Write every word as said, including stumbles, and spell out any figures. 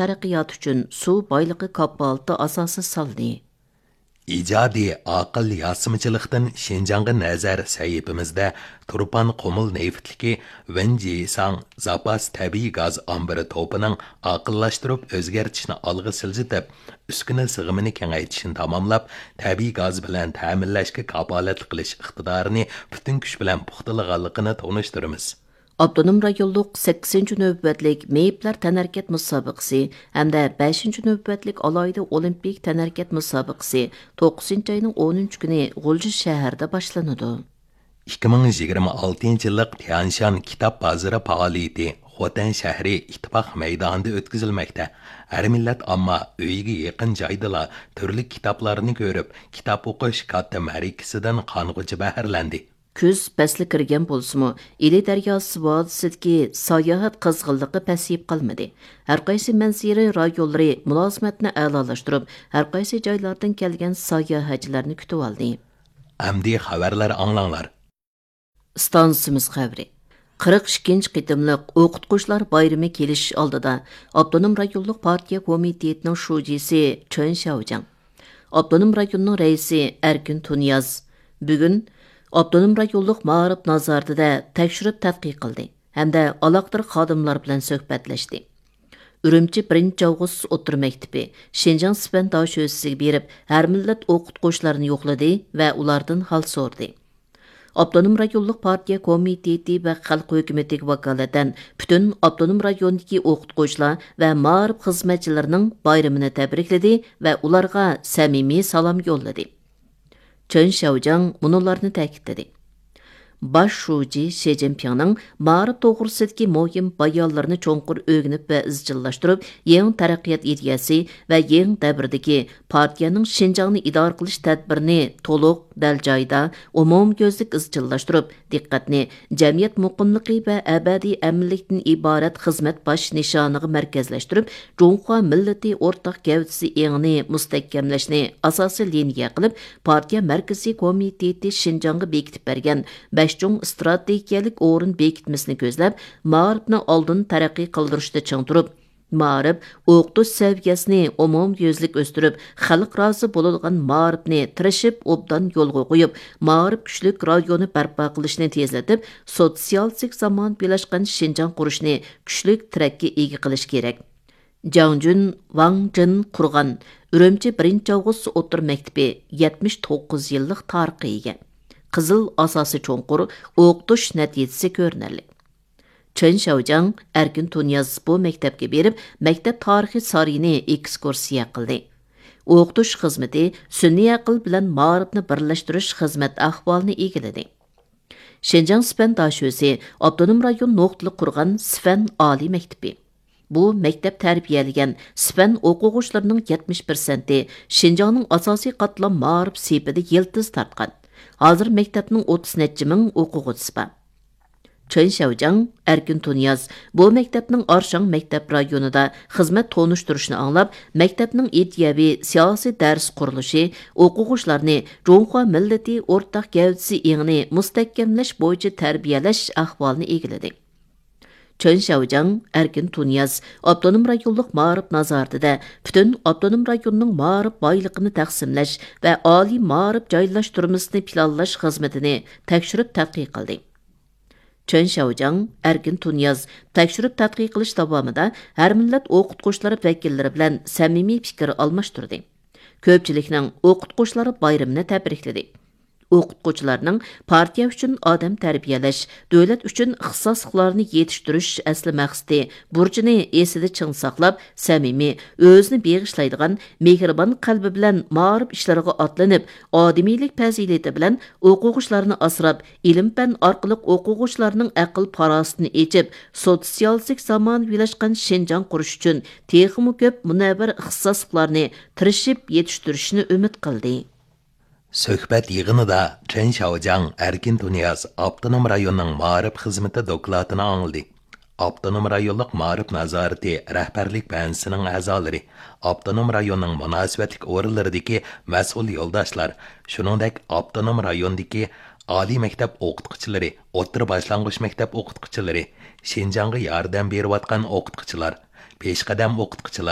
تەرەققىياتى ئۈچۈن سۇ بايلىقى كاپالىتى ئاساسى سالدى. ئىجادىي ئاقىل ياسىمىچىلىقتىن شىنجاڭغا نەزەر سەھىپىمىزدە تۇرپان قۇمۇل نېفىتلىكى ۋېنجىساڭ زاپاس تەبىئىي گاز ئامبىرى توپىنىڭ ئاقىللاشتۇرۇپ ئۆزگەرتىشنى ئالغا سىلجىتىپ، ئۈسكۈنە سىغىمىنى كېڭەيتىشنى تاماملاپ، تەبىئىي گاز بىلەن تەمىنلەشكە كاپالەتلىك قىلىش ئىقتىدارىنى پۈتۈن كۈچ بىلەن پۇختىلىغانلىقىنى تونۇشتۇرىمىز. ئاپتونوم رايونلۇق سەككىزىنچى نۆۋەتلىك مېيىپلەر تەنھەرىكەت مۇسابىقىسى ھەمدە بەشىنچى نۆۋەتلىك ئالاھىدە ئولىمپىك تەنھەرىكەت مۇسابىقىسى توققۇزىنچى ئاينىڭ ئونىنچى كۈنى غۇلجا شەھىرىدە باشلىنىدۇ. ئىككى مىڭ يىگىرمە ئالتىنچى يىللىق تيەنشان كىتاب بازىرى پائالىيىتى خوتەن شەھىرى ئىتتىپاق مەيدانىدا ئۆتكۈزۈلمەكتە. ھەر مىللەت ئامما ئۆيىگە يېقىن جايدىلا تۈرلۈك كىتابلارنى كۆرۈپ، كىتاب ئوقۇش كاتتا مەرىكىسىدىن قانغۇچە بەھرىلەندى. كۈز پەسلى كىرگەن بولسىمۇ، ئىلى دەرياسى ۋادىسىدىكى ساياھەت قىزغىنلىقى پەسىيىپ قالمىدى. ھەرقايسى مەنزىرە رايونلىرى مۇلازىمەتنى ئەلالاشتۇرۇپ، ھەرقايسى جايلاردىن كەلگەن ساياھەتچىلەرنى كۈتۈۋالدى. ئەمدى خەۋەرلەر ئاڭلاڭلار. ئىستانسىمىز خەۋىرى. قىرىق ئىككىنچى قېتىملىق ئوقۇتقۇچىلار بايرىمى كېلىش ئالدىدا، ئاپتونوم رايونلۇق پارتىيە كومىتېتىنىڭ شۇجىسى چېن شياۋجياڭ، ئاپتونوم رايوننىڭ رەئىسى ئەركىن تۇنىياز بۈگۈن ئاپتونوم رايونلۇق مائارىپ نازارىتىدە تەكشۈرۈپ تەتقىق قىلدى ھەمدە ئالاقىدار خادىملار بىلەن سۆھبەتلەشتى. ئۈرۈمچى بىرىنچى ئاۋغۇست ئوتتۇرا مەكتىپى شىنجاڭ سىفەن داشۆسىسىگە بېرىپ، ھەر مىللەت ئوقۇتقۇچىلارنى يوقلىدى ۋە ئۇلاردىن ھال سورىدى. ئاپتونوم رايونلۇق پارتىيە كومىتېتى ۋە خەلق ھۆكۈمىتىگە ۋاكالىتەن پۈتۈن ئاپتونوم رايوندىكى ئوقۇتقۇچىلار ۋە مائارىپ خىزمەتچىلىرىنىڭ بايرىمىنى تەبرىكلىدى ۋە ئۇلارغا سەمىمىي سالام يوللىدى. چېن شياۋجياڭ مۇنۇلارنى تەكىتلىدى: باش شۇجى شى جىنپىڭنىڭ مائارىپ توغرىسىدىكى مۇھىم بايانلىرىنى چوڭقۇر ئۆگىنىپ ۋە ئىزچىللاشتۇرۇپ، يېڭى تەرەققىيات ئىدىيەسى ۋە يېڭى دەۋردىكى پارتىيەنىڭ شىنجاڭنى ئىدارە قىلىش تەدبىرىنى تولۇق، دەل جايىدا، ئومۇميۈزلۈك ئىزچىللاشتۇرۇپ، دىققەتنى جەمئىيەت مۇقىملىقى ۋە ئەبەدىي ئەمىنلىكتىن ئىبارەت خىزمەت باش نىشانىغا مەركەزلەشتۈرۈپ، جۇڭخۇا مىللىتى ئورتاق گەۋدىسى ئېڭىنى مۇستەھكەملەشنى ئاساسىي لىنىيە قىلىپ، پارتىيە مەركىزىي كومىتېتى شىنجاڭغا بېكىتىپ بەرگەن بەش چوڭ ئىستراتېگىيەلىك ئورۇن بېكىتمىسىنى كۆزلەپ، مائارىپنى ئالدىن تەرەققىي قىلدۇرۇشتا چىڭ تۇرۇپ، مائارىپ، ئوقۇتۇش سەۋىيەسىنى ئومۇميۈزلۈك ئۆستۈرۈپ، خەلق رازى بولىدىغان مائارىپنى تىرىشىپ ئوبدان يولغا قويۇپ، مائارىپ كۈچلۈك رايونى بەرپا قىلىشنى تېزلىتىپ، سوتسىيالىستىك زامانىۋىلاشقان شىنجاڭ قۇرۇشنى كۈچلۈك تىرەككە ئىگە قىلىش كېرەك. جاڭ جۈن، ۋاڭ جىن قۇرغان ئۈرۈمچى بىرىنچى ئاۋغۇست ئوتتۇرا مەكتىپى يەتمىش توققۇز يىللىق تارىخقا ئىگە. قىزىل ئاساسى چوڭقۇر، ئوقۇتۇش نەتىجىسى كۆرۈنەرلىك. چېن شياۋجياڭ، ئەركىن تۇنىياز بۇ مەكتەپكە بېرىپ، مەكتەپ تارىخى سارىيىنى ئېكسكۇرسىيە قىلدى. ئوقۇتۇش خىزمىتى، سۈنئىي ئەقىل بىلەن مائارىپنى بىرلەشتۈرۈش خىزمەت ئەھۋالىنى ئىگىلىدى. شىنجاڭ سىپەن داشۆسى ئاپتونوم رايون نۇقتىلىق قۇرغان سىپەن ئالىي مەكتىپى. بۇ مەكتەپ تەربىيەلىگەن سىپەن ئوقۇغۇچىلىرىنىڭ يەتمىش پىرسەنتى شىنجاڭنىڭ ئاساسىي قاتلام مائارىپ سېپىدە يىلتىز تارتقان. ھازىر مەكتەپنىڭ ئوتتۇز نەچچە مىڭ ئوقۇغۇچىسى بار. چېن شياۋجياڭ، ئەركىن تۇنىياز بۇ مەكتەپنىڭ ئارشاڭ مەكتەپ رايونىدا خىزمەت تونۇشتۇرۇشىنى ئاڭلاپ، مەكتەپنىڭ ئىدىيەۋى سىياسىي دەرس قۇرۇلۇشى، ئوقۇغۇچىلارنى جۇڭخۇا مىللىتى ئورتاق گەۋدىسى ئېڭىنى مۇستەھكەملەش بويىچە تەربىيەلەش ئەھۋالىنى ئىگىلىدى. چېن شياۋجياڭ، ئەركىن تۇنىياز ئاپتونوم رايونلۇق مائارىپ نازارىتىدە پۈتۈن ئاپتونوم رايوننىڭ مائارىپ بايلىقىنى تەقسىملەش ۋە ئالىي مائارىپ جايلاشتۇرمىسىنى پىلانلاش خىزمىتىنى تەكشۈرۈپ تەتقىق قىلدى. چېن شياۋجياڭ، ئەركىن تۇنىياز تەكشۈرۈپ تەتقىق قىلىش داۋامىدا ھەر مىللەت ئوقۇتقۇچىلار ۋەكىللىرى بىلەن سەمىمىي پىكىر ئالماشتۇردى. كۆپچىلىكنىڭ ئوقۇتقۇچىلار بايرىمىنى تەبرىكلىدى. ئوقۇتقۇچىلارنىڭ پارتىيە ئۈچۈن ئادەم تەربىيەلەش، دۆلەت ئۈچۈن ئىختىساسلىقلارنى يېتىشتۈرۈش ئەسلى مەقسىتى، بۇرچىنى ئېسىدە چىڭ ساقلاپ، سەمىمىي، ئۆزىنى بېغىشلايدىغان، مېھرىبان قەلبى بىلەن مائارىپ ئىشلىرىغا ئاتلىنىپ، ئادىمىيلىك پەزىلىتى بىلەن ئوقۇغۇچىلارنى ئاسراپ، ئىلىم-پەن ئارقىلىق ئوقۇغۇچىلارنىڭ ئەقىل-پاراسىتىنى ئېچىپ، سوتسىيالىستىك زامانىۋىلاشقان شىنجاڭ قۇرۇش ئۈچۈن تېخىمۇ كۆپ مۇنەۋۋەر ئىختىساسلىقلارنى تىرىشىپ يېتىشتۈرۈشىنى ئۈمىد قىلدى. سۆھبەت يىغىنىدا چېن شياۋجياڭ ئەركىن تۇنىياز ئاپتونوم رايوننىڭ مائارىپ خىزمىتى دوكلاتىنى ئاڭلىدى. ئاپتونوم رايونلۇق مائارىپ نازارىتى رەھبەرلىك بەنزىسىنىڭ ئەزالىرى، ئاپتونوم رايوننىڭ مۇناسىۋەتلىك ئورۇنلىرىدىكى مەسئۇل يولداشلار، شۇنىڭدەك ئاپتونوم رايوندىكى ئالىي مەكتەپ ئوقۇتقۇچىلىرى، ئوتتۇرا باشلانغۇچ مەكتەپ ئوقۇتقۇچىلىرى، شىنجاڭغا ياردەم بېرىۋاتقان ئوقۇتقۇچىلار، پېشقەدەم ئوقۇتقۇچىلار.